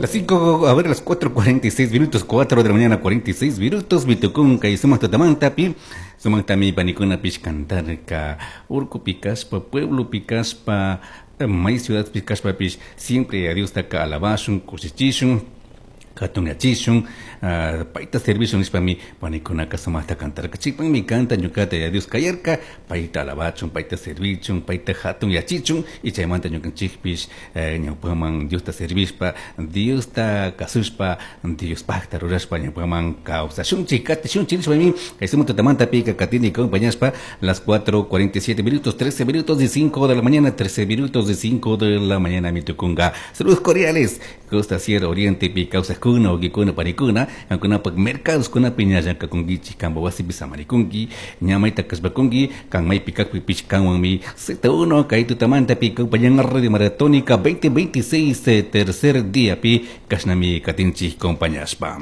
Las 5, a ver, las 4:46 minutos, 4 de la mañana, 46 minutos, mitukunka y sumak tutamantapi, sumaktami panikunapish cantarka, urkupi kashpa, pueblopi kashpa, may ciudadpi kashpapish, siempre a Diostaka alabashun, kushichishun, jatunyachishun, paita servishun nishpami panikunaka sumakta cantarka. Chaypakmi canta ñukata Yaya Dios kayarka, paita alabachun, paita servichun, paita jatunyachichun, y chaymanta ñukanchikpish ñawpaman Diosta servishpa, Diosta kasushpa, Diospakta rurashpa ñawpaman kawsashunchik, katishunchik nishpami kay sumak tutamantapika katini acompañashpa las 4:47 minutos, 13 minutos de 5 de la mañana, 13 minutos de 5 de la mañana mitukunga. Saludos cordiales, Costa Sierra Oriente pi kawsakuna, wawkikuna, panikuna, kankunapak mercados kunapi ña llank'akunkichik, kanpa wasipi samarikunki, ña mayta kashpakunki, kan maypi kakpipish kanwanmi Z1 kay tutamantapi compañía Radio Maratónica 2026 tercer día pi kashnami katinchik compañashpa.